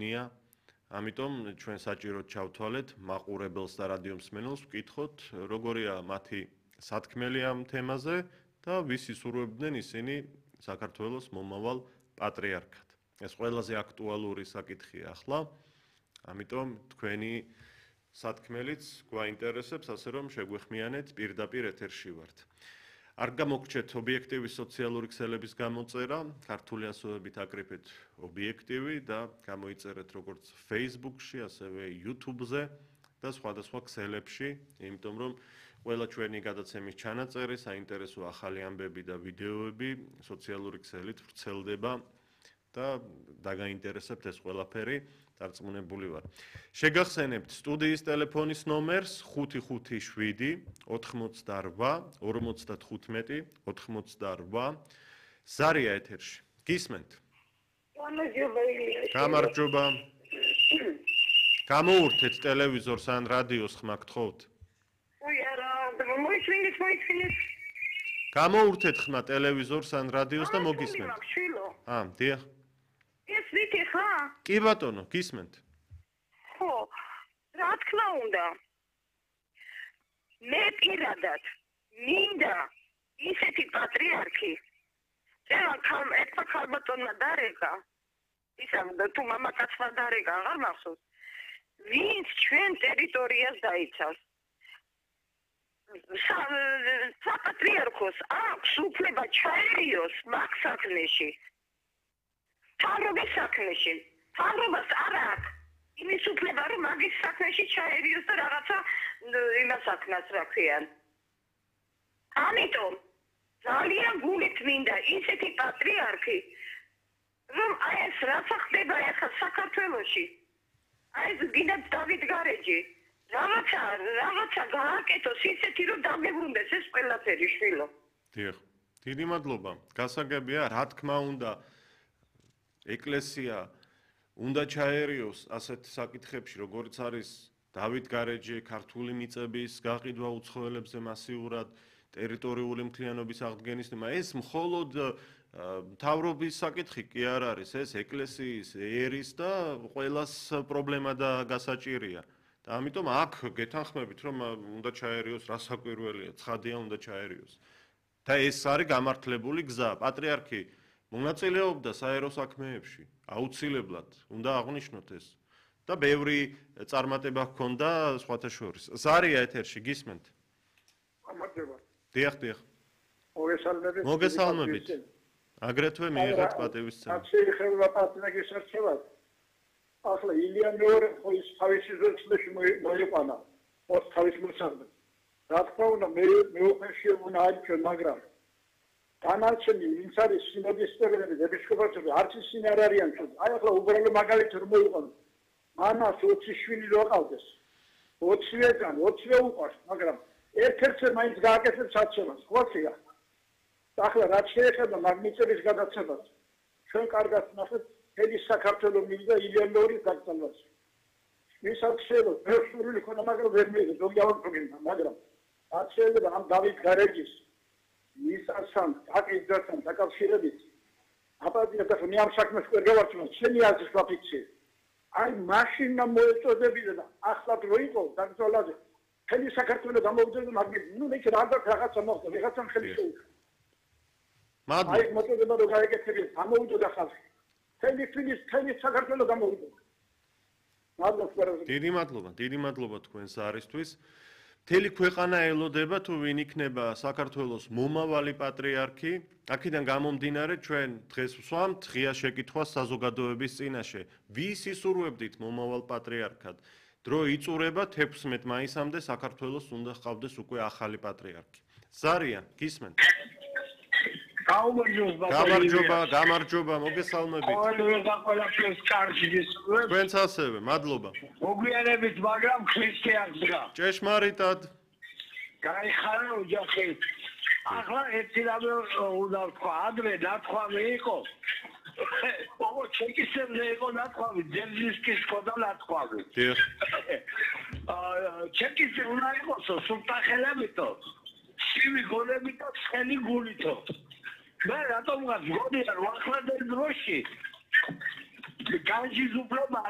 ჩვენია. ამიტომ ჩვენ საჭიროდ ჩავთვალეთ მაყურებელს და რადიო მსმენელს ვკითხოთ, როგორია მათი სათქმელი ამ თემაზე და ვისი სურვებდნენ ისინი საქართველოს მომავალ პატრიარქად. ეს ყველაზე აქტუალური საკითხია ახლა. ამიტომ თქვენი სათქმელიც გვაინტერესებს, ასე რომ შეგვეხმიანეთ, პირდაპირ ეთერში ვართ. არ გამოგრჩეთ ობიექტივი სოციალური ქსელების გამოწერა, ქართული ასოებით აკრიფეთ ობიექტივი და გამოიწერეთ როგორც Facebook-ში, ასევე YouTube-ზე და სხვადასხვა ქსელებში, იმიტომ რომ ყველა ჩვენი გადაცემის ჩანაწერი, საინტერესო ახალი ამბები და ვიდეოები სოციალური ქსელით ვრცელდება და დაგაინტერესებთ ეს ყველაფერი, დარწმუნებული ვარ. შეგახსენებთ სტუდიის ტელეფონის ნომერს 557 88 55 88. ზარია ეთერში. გისმენთ? გამარჯობა. გამოურთეთ ტელევიზორს ან რადიოს ხმა გთხოვთ? გამოურთეთ ხმა ტელევიზორს ან რადიოს და მოგისმენთ. დიახ. ეს ვიქი ხა? კი ბატონო, გისმენთ. ხო, რა თქმა უნდა. მე პირადად მინდა ისეთი პატრიარქი. ერთმა ქალბატონმა დარეკა. ისამ თუ მამაკაცმა დარეკა, აღარ მახსოვს. ვინც ჩვენ ტერიტორიას დაიცავს. საპატრიარქოს აქვს უფლება ჩაერიოს მაგ საქმეში. თავრობის საქმეში. თავრობას არ აქვს. იმის უფლება რომ მაგის საქმეში ჩაერიოს და რაღაცა იმას საქმას რა ქვიან. ამიტომ ძალიან გულით მინდა ისეთი პატრიარქი, რომ აი ეს რაცა ხდება ახლა საქართველოში. აი ეს გინდა დავით გარეჯი. რაღაცა გააკეთოს ისეთი რომ დამებრუნდეს ეს ყველაფერი შვილო. დიახ. დიდი მადლობა. გასაგებია, რა თქმა უნდა, ეკლესია უნდა ჩაერიოს ასეთ საკითხებში, როგორც არის დავით გარეჯი, ქართული მიწების გაყიდვა უცხოელებზე მასიურად, ტერიტორიული მთლიანობის აღდგენის თემა. ეს მხოლოდ მთავრობის საკითხი კი არ არის, ეს ეკლესიის, ერის და ყველას პრობლემა და გასაჭირია. და ამიტომ აქ გეთანხმებით, რომ უნდა ჩაერიოს, რასაკვირველია, ცხადია უნდა ჩაერიოს. და ეს არის გამართლებული გზა. პატრიარქი მონაწილეობდა საერო საქმეებში, აუცილებლად უნდა აღვნიშნოთ ეს. და ბევრი წარმატება ჰქონდა სხვათა შორის. ზარია ეთერში, გისმენთ? გამარჯობა. დიახ. მოგესალმებით. მოგესალმებით. აგრეთვე მიიღეთ პატივისცემა. შეიძლება პატრიარქის არჩევად. ახლა ილია მეორე ხოის თავისი ზეცლში მოიყვანა. ოც თავის მოსაგდ. რა თქმა უნდა მე უფერში უნდა აჩვენ, მაგრამ დანარჩენი ვინც არის სინოდისტები, ეპისკოპოსები, არც ისინი არ არიან თუ. აი ახლა უბრალო მაგალითი რომ მოიყვანო. მამას 20 შვილი რო ყავდეს. 20-ვე 20-ვე უყვარს, მაგრამ ერთ-ერთზე მაინც გააკეთებს აცებას. ხოხია. ახლა რაც შეეხება მაგნიტების გადაცემას, ჩვენ კარგად ნახეთ მთელი საქართველოს მივიდა ილიანორის გაგზავნას. ვისაც შეიძლება პერსონალური ქონა, მაგრამ ვერ მიიღებს, ზოგი ავაკრობინდა, მაგრამ რაც შეიძლება ამ დავით გარეჯის ისასთან აკისრთან დაკავშირებით აპატია და მე ამ საქმეს ვერ გავარჩევ, შენი აზრის ვაფიქსირე. აი მაშინა მოეწოდებინა და ახლა რო იყო დაგზოლაზე მთელი საქართველოს გამოვიდა მაგით, ნუ მე რაღაცა მოხდა, ვიღაცამ ხელი შეუწყო. მადლობა. აი მოწოდება რო გაიგეთები, გამოვიდა ხალხი. თემის საქართველოს გამოვიდა. დიდი მადლობა თქვენს არისთვის. მთელი ქვეყანა ელოდება თუ ვინ იქნება საქართველოს მომავალი პატრიარქი. აქედან გამომდინარე ჩვენ დღეს ვსვამთ ღია შეკითხვას საზოგადოების წინაშე. ვის ისურვებდით მომავალ პატრიარქად? დრო იწურება 16 მაისამდე საქართველოს უნდა ჰყავდეს უკვე ახალი პატრიარქი. ზარია, გისმენთ? გამარჯობა, მოგესალმებით. თქვენც ასევე, მადლობა. მოგვიანებით, მაგრამ ქრისტიანსგა. ჭეშმარიტად. გაიხარა ოჯახი. ახლა ერთი რამე უნდა ვთქვა, ადრე ნათქვამი იყო. ო, ჩეკისებზე იყო ნათქვამი, ძერძისკის ყოდა ნათქვამი. დიახ. ჩეკისი უნდა იყოს სულტახელებითო. შივი გონებითო, ცხელი გულითო. მე რატომღაც გონია რომ ახლანდელ დროში განჯის უფლება